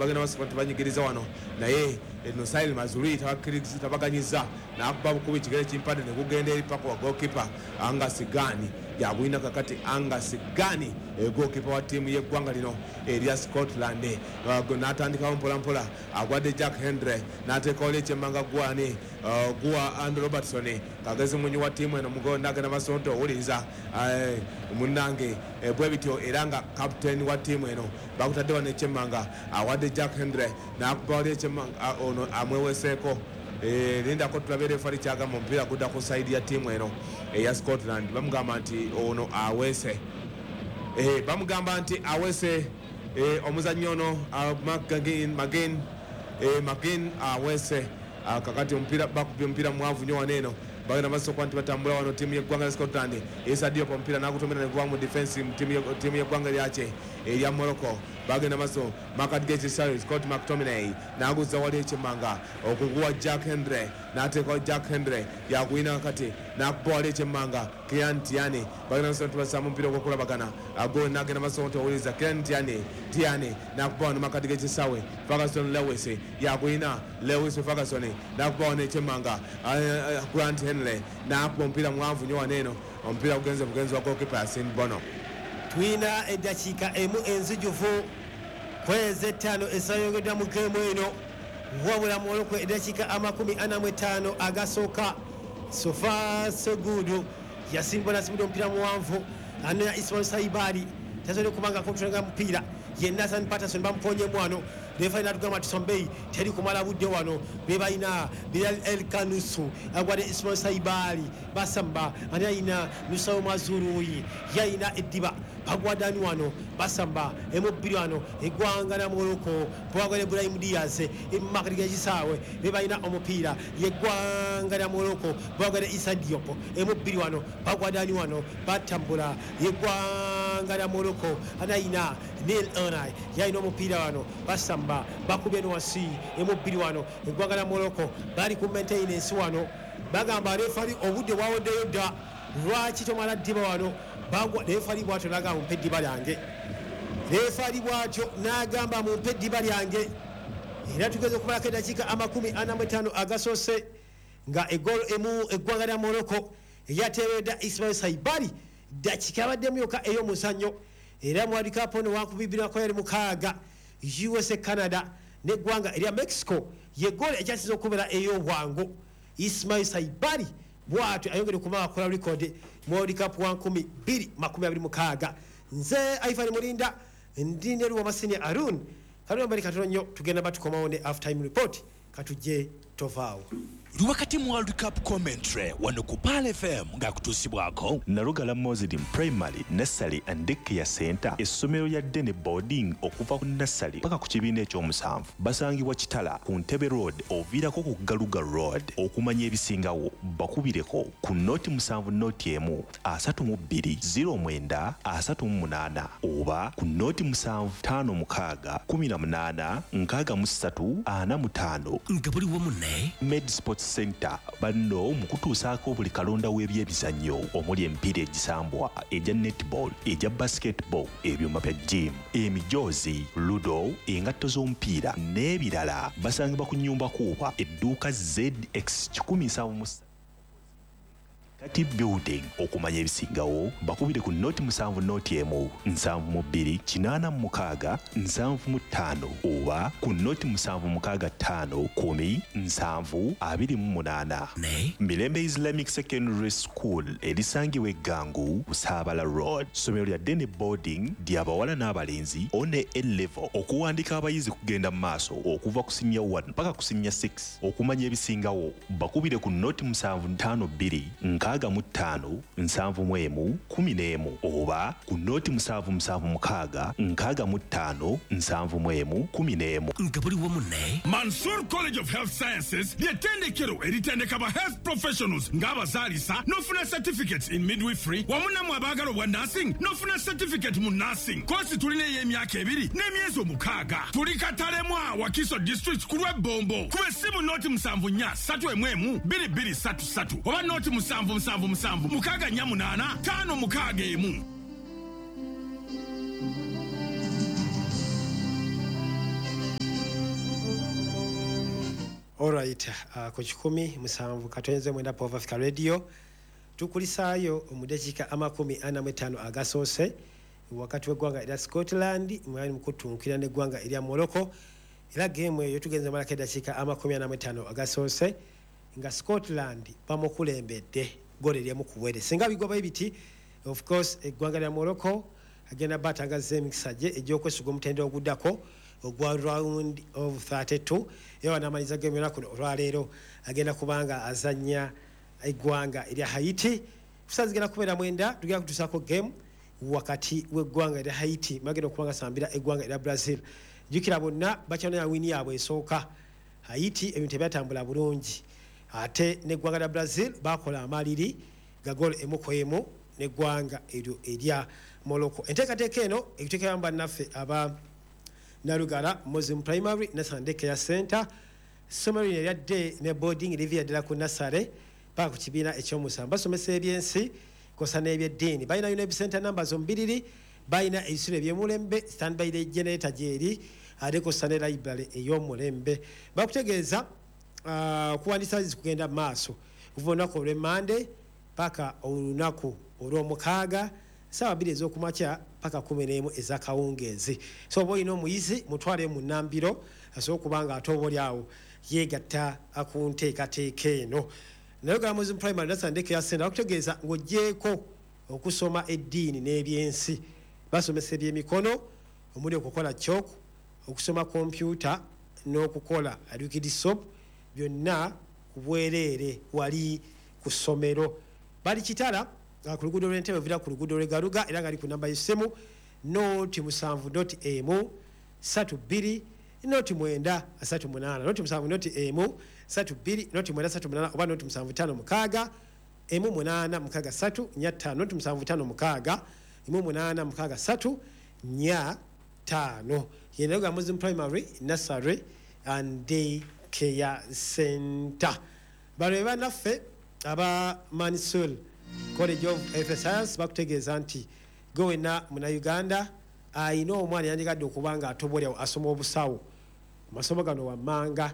Bagenda maaso nti banyigiriza wano, naye Nosail Mazrui tabaganyiza, n'akuba bukubi kigere kimpadde ne gugenda eri paka wa goalkeeper Angus Gunn. Yagwina kakati Angus Gunn, goalkeeper wa ttiimu y'eggwanga lino erya Scotland. N'atandikawo mpola mpola, agwadde Jack Hendry, n'ateekawo ekyemmanga gwani guwa Andrew Robertson, kagezi munyi wa ttiimu eno mugonda agenda maaso nti owuliriza munnange bwe bityo, era nga captain wa ttiimu eno bakutadde wano ekyemmanga, awadde Jack Hendry, n'akuba wali ekyemmanga, ono amweweseeko. Lindako tulabe refari kyagamba. Omupiira gudda ku side ya ttiimu eno eya Scotland. Bamugamba nti ono aweese, bamugamba nti aweese omuzannyi ono McGinn, McGinn aweese. Kakati omupiira bakubye omupiira mwavu nnyo wano eno. Bagenda maaso okuba nti batambula wano ttiimu y'eggwanga lya Scotland. Issa Diop omupiira n'agutomera ne guba mu defense mu ttiimu y'eggwanga lyake erya Morocco. Bagenda maaso makati g'ekisaawe, Scott McTominay n'aguzza wali ekyemmanga okuguwa Jack Hendry, n'ateekawo Jack Hendry, yagwina kakati n'akuba wali ekyemmanga Kieran Tierney. Bagenda maaso nti basaamu omupiira ogw'okulabagana ago, n'agenda maaso nti owuliriza Kieran Tierney, Tierney n'akuba wano makati g'ekisaawe, Ferguson Lewis yagwina, Lewis Ferguson n'akuba wano ekyemmanga Grant Henley, n'akuba omupiira mwanvu nnyo wano eno. Omupiira gugenze bugenzi wa goalkeeper Yasin Bono. Tulina eddakiika emu enzijuvu kwezi 5 ezayongeddwa mu geemu eno, wabula Morocco eddakiika 45 agasooka, so far so good. Yasin Bono asimudde omupiira muwanvu, anoya Ismail Saibari, tasobodde kubanga akontrolinga mupiira ye. Nathan Patterson bamukonyemu wano. Refari natugamba nti sombei teri kumala budde wano. Be balina Bilal El Khannouss, agwadde Ismail Saibari, basamba ani ayina Noussair Mazraoui, yayina eddiba, bagwadani wano, basamba emu 2 wano. Eggwanga lya Morocco bwagala Ibrahim Diaz emakati gekisaawe, be balina omupiira yeggwanga lya Morocco, bwagala Issa Diop emu 2 wano, bagwadani wano, batambula yeggwanga lya Morocco, anayina Neil Ounahi, yalina omupiira wano, basamba bakubye wansi emu 2 wano. Eggwanga lya Morocco bali ku maintenance wano, bagamba refari obudde bwawoddeyo dda, lwaki tomala ddiba wano? Bagwa refari bwatyo nagamba, "Mumpe eddiba lyange." Refari bwatyo n'agamba, "Mumpe eddiba lyange." Era tugeze okumalako eddakiika 45 agasoose nga egolo emu eggwanga lya Morocco eyateeredda Ismail Saibari, ddakiika yabaddemu yokka ey'omuzannyo. Era mu World Cup ono 2026, USA, Canada n'eggwanga erya Mexico, ye goolo ekyasinza okubeera ey'obwangu. Ismail Saibari bwatyo ayongere okuba akola record mu World Cup wa 2026. Nze Ivan Mulinda, ndi ne Luwamasini Arun kalambali. Katono nnyo tugenda batukomawo ne half time report. Katujje, tovaawo. Wakati mu World Cup commentary wano ku Pearl FM ng'akutuusibwako Nalugala Muslim Primary Nursery and Daycare Center, essomero lya day boarding okuva ku nursery paka ku kibiina ekyomusanvu. Basangibwa Kitala ku Ntebe Road, oviirako ku Galuga Road. Okumanya ebisingawo bakubireko ku 0 7 0 1 32 09 38 oba ku 0 7 5 6 18 63 45. Nga buli wamu ne Med Sports Center, banno mu kutuusaako buli kalonda w'ebyemizannyo omuli emipiira egisambwa, egya netball, egya basketball, ebyuma bya gym, emijoozi, ludo, engatto z'omupiira n'ebirala. Basangibwa ku Nyumba Kuuba, edduuka ZX 173 kati building. Okumanya ebisingawo bakubire ku 0 7 0 1 72 86 75 oba ku 0 7 6 5 10 7 28. Ne Mirembe Islamic Secondary School erisangibwa Eggangu, Busaabala Road, ssomero lya day boarding ly'abawala n'abalenzi one A level. Okuwandika abayizi kugenda mu maaso okuva ku senior 1 paka ku senior 6. Okumanya ebisingawo bakubire ku 0 7 5 2 65 71 11 oba ku 0 7 7 6 65 71 11. Nga buli wamu ne Mansur College of Health Sciences ly'ettendekero eritendeka ba health professionals ng'abazaalisa n'ofuna certificates in midwifery, wamu nammwe abaagala obwa nursing n'ofuna certificate mu nursing. Kosi tulina ey'emyaka 2 n'emyezi 6. Tuli Katalemwa, Wakiso District, ku lw'Ebbombo. Kuba essimu 0 74 311 2233 oba 0 7 7 7 6 4 8 5 6 1. Alright, ku 107.9 Pova Africa Radio tukulisaayo mu dakiika 45 agasoose wakati w'eggwanga erya Scotland mwali mukutunkira n'eggwanga erya Morocco. Era geemu eyo tugenze malako eddakiika 45 agasoose nga Scotland bamukulembedde ggoolo erimu ku bwere. Singa bigwabayo biti, of course eggwanga lya Morocco agenda batangazza emikisa gye egy'okwesiga omutendera oguddako ogwa round of 32. Era wanaamaliza geemu yona kuno olwaleero agenda kubanga azannya eggwanga erya Haiti. Kusa zigenda kubeera 9, tugenda kutuusaako geemu wakati w'eggwanga erya Haiti bagenda okuba nga sambira eggwanga erya Brazil. Jjukira bonna bakyanonya wiini yaabwe esooka. Haiti ebintu tebyatambula bulungi, ate n'eggwanga lya Brazil bakola amaliri ga goolo 1-1 n'eggwanga eryo erya Morocco. Enteekateeka eno ekuteekeramu bannaffe aba Nalugala Muslim Primary National Day Care Center, essomero lino erya day ne boarding liviira ddala ku nasale paka ku kibiina ekyomusanvu. Basomesa ebyensi kosa n'ebyeddiini. Balina UNEB center numbers omubiriri, balina ebisulo ebyomulembe, standby generator gyeri, ate kosa ne library ey'omulembe. Bakutegeeza okuwandiisa kugenda mu maaso okuva olunaku olw'Emmande paka olunaku olw'omukaaga ssaawa 2 ez'okumakya paka 11 ez'akawungeezi. So oba olina omuyizi mutwale mu nnambiro asobola okuba nga ate oba oli awo yeegatta ku nteekateeka eno. Nalugala Muslim Primary National Day Care Center bakutegeeza ng'oggyeeko okusoma eddiini n'ebyensi, basomesa ebyemikono omuli okukola chalk, okusoma kompyuta n'okukola liquid soap, byonna ku bwereere wali ku ssomero. Bali Kitala ku luguudo lw'Entebe ovira ku luguudo lw'e Garuga, era nga ali ku namba y'essimu 0 7 .1 3 2 0 9 3 8, 0 7 .1 3 2 0 9 3 8, oba 0 7 5 6 1 8 6 3 4 5, 0 7 5 6 1 8 6 3 4 5. Ye Nalugala Muslim Primary Nursery and Day Care Center. Bano be bannaffe aba Mansul College of Health Science bakutegeeza nti gwe wenna Munnayuganda ayina omwana yandigadde okuba nga atobolyawo asoma obusawo, amasomo gano wammanga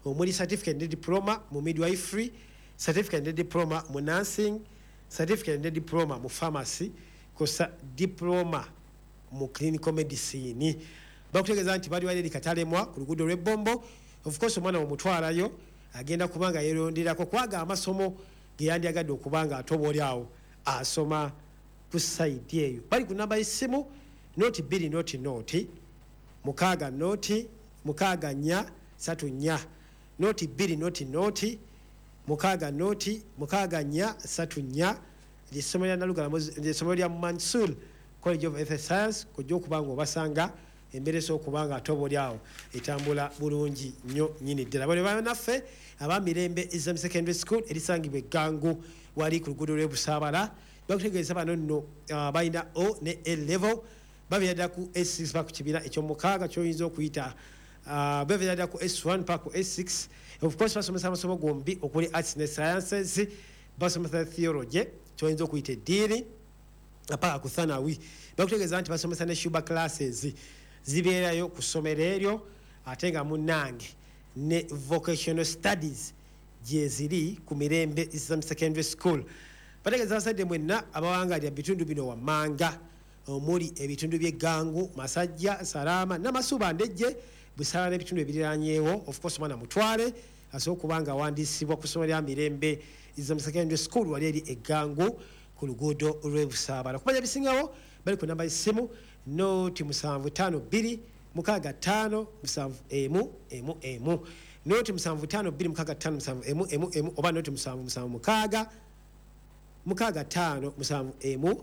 omuli certificate ne diploma mu midwifery, certificate ne diploma mu nursing, certificate ne diploma mu pharmacy, kosa diploma mu clinical medicine. Bakutegeeza nti bali wali eri Katalemwa ku luguudo lw'Ebbombo. Of course omwana omutwalayo agenda kuba nga yeeronderako kwaga amasomo ge yandyagadde okuba nga ate oba oli awo asoma ku side eyo. Bali ku namba y'essimu 0 2 0 0 6 0 6 4 3 4, 0 2 0 0 6 0 6 4 3 4. Lyessomero lya Nalugala, lyessomero lya Mansul College of Health Science. Kojja okuba nga obasanga embeera esobola okuba nga ate oba oli awo etambula bulungi nnyo nnyini ddala. Bano bannaffe aba Mirembe Islam Secondary School erisangibwa Eggangu wali ku luguudo lw'e Busaabala bakutegeeza bano nno balina O ne A level, babeera ddala ku S6 paka ku kibiina ekyomukaaga ky'oyinza okuyita, babeera ddala ku S1 paka ku S6. Of course basomesa amasomo gombi okuli arts ne sciences, basomesa theology ky'oyinza okuyita eddiini paka ku thanawi. Bakutegeeza nti basomesa ne shuba classes zibeerayo ku ssomero eryo, ate nga munnange ne vocational studies gyeziri ku Mirembe Islam Secondary School. Bategeeza abasajja mwenna abawangalira bitundu bino wammanga omuli ebitundu by'Eggangu, Masajja, Salama, Namasuba, Ndejje, Busala n'ebitundu ebiriranyeewo. Of course omwana mutwale asobola okuba nga awandiisibwa ku ssomero lya Mirembe Islam Secondary School wali eri Eggangu ku luguudo lw'e Busaabala. Okumanya ebisingawo bali ku namba y'essimu 0 7 5 2 6 5 7 1 1 1, 0 7 5 2 6 5 7 1 1 1, oba 0 7 7 6 6 5 7 1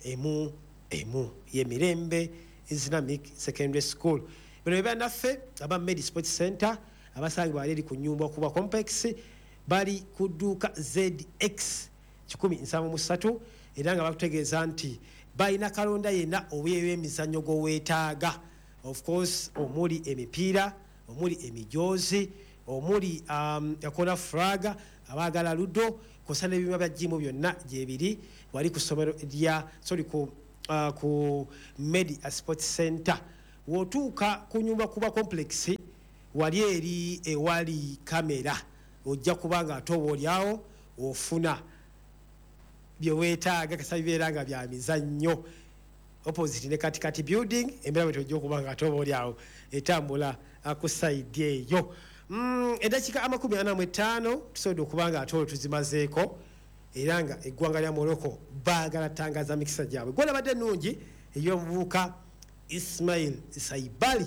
1 1. Ye Mirembe Islamic Secondary School. Bano be bannaffe aba Medi Sports Center abasangibwa wali eri ku Nyumba Kuba Complex, bali ku dduuka ZX 173, era nga bakutegeeza nti balina kalonda yenna ow'emizannyo gw'oweetaaga, of course omuli emipiira, omuli emijoozi, omuli akola flag, abaagala ludo kosa n'ebyuma bya gym byonna gyebiri wali ku ssomero lya, sorry, ku Medi Sports Center. W'otuuka ku Nyumba Kuba Complex Wali eri ewali kamera ojja kubanga ate oba oliawo ofuna byeweetaaga kasa bibeera nga bya mizannyo. Opposite ne Katikati building, embeera bwe tojja okuba nga ate oba oliawo etambula ku side eyo. Eddakiika 45 tusobodde okuba nga ate olwo tuzimazeeko, era nga eggwanga lya Morocco baagala tangaza mikisa gyabwe. Goal abadde ennungi ey'omuvubuka Ismail Saibali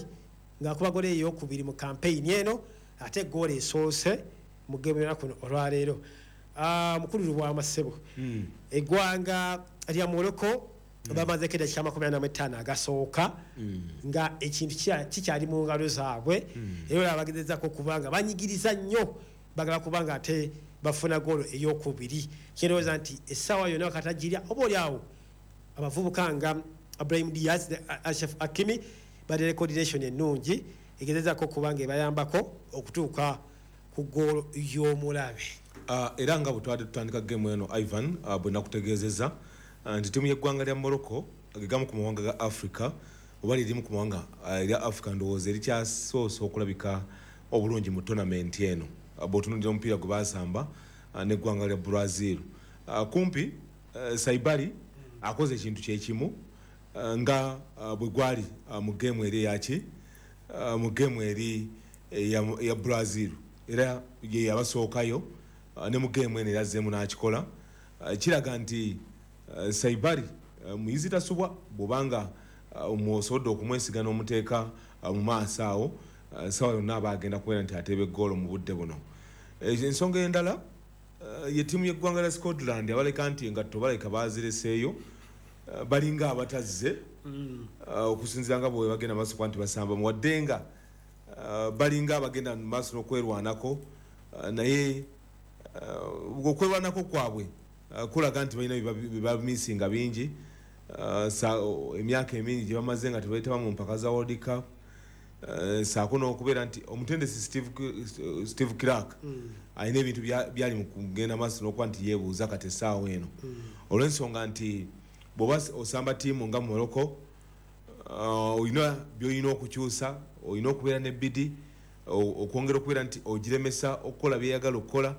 ng'akuba goal eyokubiri mu campaign eno, ate goal esoose mu game y'olunaku kuno olwaleero. Mukulu Lubwama ssebo, eggwanga lya Morocco bamazeko eddakiika 45 agasooka nga ekintu kikyali mu ngalo zaabwe, era olaba bagezezako okuba nga banyigiriza nnyo, bagala kubanga ate bafuna goolo eyokubiri. Kyendowooza nti essaawa yonna wakatagirya oba oli awo abavubuka nga Brahim Diaz ne Achraf Hakimi balina coordination ennungi egezezako okuba nga ebayambako okutuuka ku goolo y'omulabe. Era nga bwe twabadde tutandika gemu eno, Ivan, bwe nakutegeezezza nti ttiimu y'eggwanga lya Morocco gegamu ku mawanga ga Africa, oba lirimu ku mawanga erya Africa ndowooza erikyasoose okulabika obulungi mu tournament eno. Bw'otunuulira omupiira gwe basamba n'eggwanga lya Brazil, kumpi Saibali akoze ekintu kyekimu nga bwe gwali mu geemu eri eyaki, mu geemu eri eya Brazil, era ye yabasookayo ne mu geemu eno era azzeemu n'akikola. Kiraga nti Saibali muyizi tasubwa, bw'obanga osobodde okumwesiga n'omuteeka mu maaso awo, sawa yonna aba agenda kubeera nti ateeba eggoolo mu budde buno. Ensonga endala ye ttiimu y'eggwanga lya Scotland, abaleka nti engatto baleka bazireseeyo, balinga abatazze okusinziira nga bwe bagenda maaso kuba nti basamba, wadde nga balinga abagenda mu maaso n'okwerwanako, naye okwerwanako kwabwe kulaga nti balina bye bamisinga bingi. Emyaka emingi gye bamaze nga tebeetaba mu mpaka za World Cup, saako n'okubeera nti omutendesi Steve Clark alina ebintu byali mu kugenda maaso n'okuba nti yeebuuza kati essaawa eno, olw'ensonga nti bw'oba osamba ttiimu nga Morocco, olina byolina okukyusa, olina okubeera ne bidi okwongera okubeera nti ogiremesa okukola byeyagala okukola.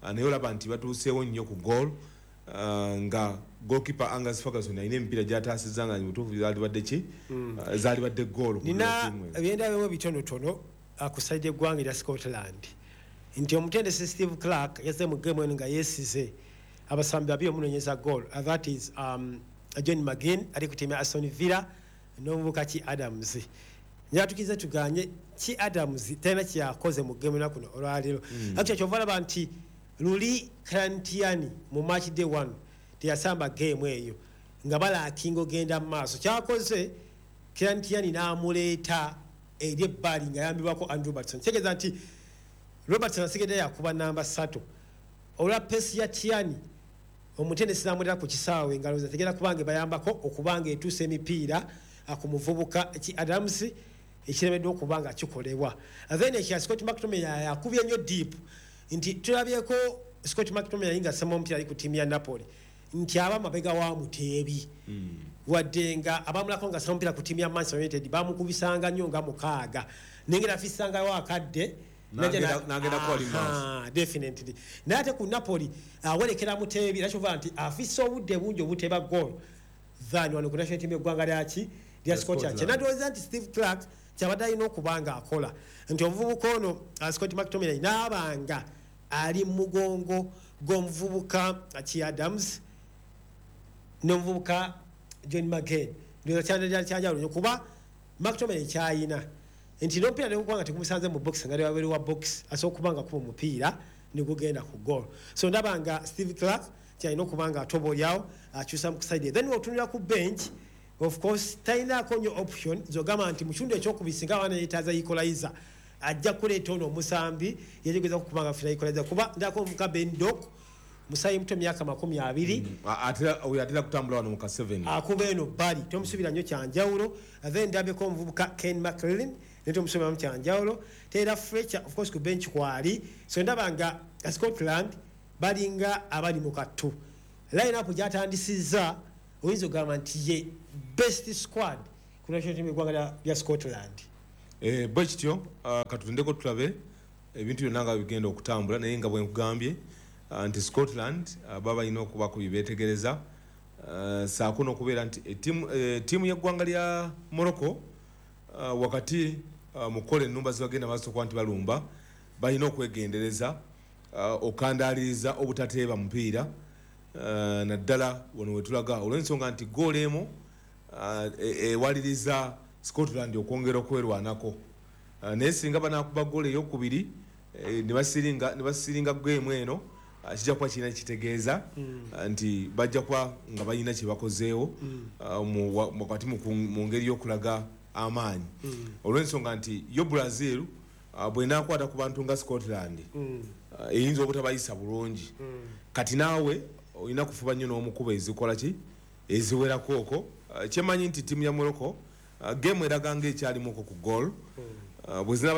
Naye olaba nti batuuseewo nnyo ku goal, nga goalkeeper Angus Ferguson alina emipiira gyataasizza nga mutuufu zaalibadde ki, zaalibadde goal ku Nina ttiimu eno. Ebyendabewo bitonotono ku side eggwanga erya Scotland, nti omutendesi Steve Clark yazze mu game eno nga yeesize abasambi babiri omunoonyeza goal. That is John McGinn ali ku tiimu ya Aston Villa n'omuvubuka ki Adams. Njatukize tuganye ki Adams talina kyeyakoze mu game ena kuno olwaleero. Actually, kyova olaba nti luli Kieran mu match day one teyasamba game eyo nga balackinga ogenda mu maaso. Kyakoze Kieran n'amuleeta eri ebbali nga yambibwako Andrew Robertson, kitegeeza nti Robertson asigadde yakuba namba 3 olwa pace ya Tierney. Omutendesi n'amuleeta ku kisaawe engalo ze tegera kubanga ebayambako okubanga etuusa emipiira ku muvubuka ki Adams, ekiremeddwa okuba nga kikolebwa. Then ekya Scott McTominay yakubye nnyo deep, nti tulabyeko Scott McTominay nga asamba omupiira ali ku ttiimu ya Napoli nti aba mabega wa muteebi, wadde nga abamulako nga asamba omupiira ku ttiimu ya Manchester United bamukubisanga nnyo nga 6, naye nga nafisangayo akadde. N'agenda kuwali mu maaso. Aha, definitely. Naye ate ku Napoli awerekera muteebi, era kyova nti afisa obudde bungi obuteeba goal than wano ku national team eggwanga lyaki lya Scotland. Scotland. Kyenandowooza nti Steve Clark kyabadde alina okuba nga akola nti omuvubuka ono Scott McTominay n'abanga ali mu mugongo gw'omuvubuka ki Adams n'omuvubuka John McGinn, ndowooza kyanjawulo nnyo, kuba McTominay kyayina nti n'omupiira negukuba nga tegumusanze mu box, nga wabweru wa box asobola okuba nga kuba omupiira negugenda ku goal. So ndaba nga Steve Clark kyalina okuba nga atoba oliawo akyusa mu side. Then otunulira ku bench, of course talinaako nnyo option zogamba nti mu kitundu ekyokubiri singa abaana yeetaaza equalizer ajja kuleeta ono omusambi yetegeza kukuba nga funa equalizer, kuba ndako omuvubuka Ben Doak, musayi muto, myaka 20. Oyo atera kutambula wano mu ka 7. Akuba eno bbali, tomusuubira nnyo kyanjawulo. Then ndabyeko omuvubuka Ken McLean, naye tomusuubiramu kyanjawulo. Taylor Fletcher, of course, ku bench kwali. So ndaba nga Scotland balinga abali mu kattu. Line up gyatandisizza oyinza okugamba nti ye best squad ku national team eggwanga lya Scotland. Bwe kityo, katulindeko tulabe ebintu byonna nga bigenda okutambula, naye nga bwe nkugambye nti Scotland baba balina okubako bye beetegereza, saako n'okubeera nti ettiimu y'eggwanga lya Morocco, wakati mu kukola ennumba zibagenda maaso okuba nti balumba, balina okwegendereza okandaaliriza obutateeba mupiira, naddala wano wetulaga, olw'ensonga nti goolo emu ewaliriza Scotland okwongera okwerwanako. Naye singa banakuba goolo eyokubiri ne basiringa geemu eno, kijja kuba kirina kitegeeza nti bajja kuba nga balina kye bakozeewo wakati mu ngeri y'okulaga amaanyi, olw'ensonga nti yo Brazil bwenakwata ku bantu nga Scotland, eyinza obutabayisa bulungi. Kati naawe olina kufuba nnyo n'omukuba ezikola ki eziwerako okwo. Kyemanyi nti ttiimu ya Morocco, game eraga nga ekyalimuko ku goal bwe zinaba.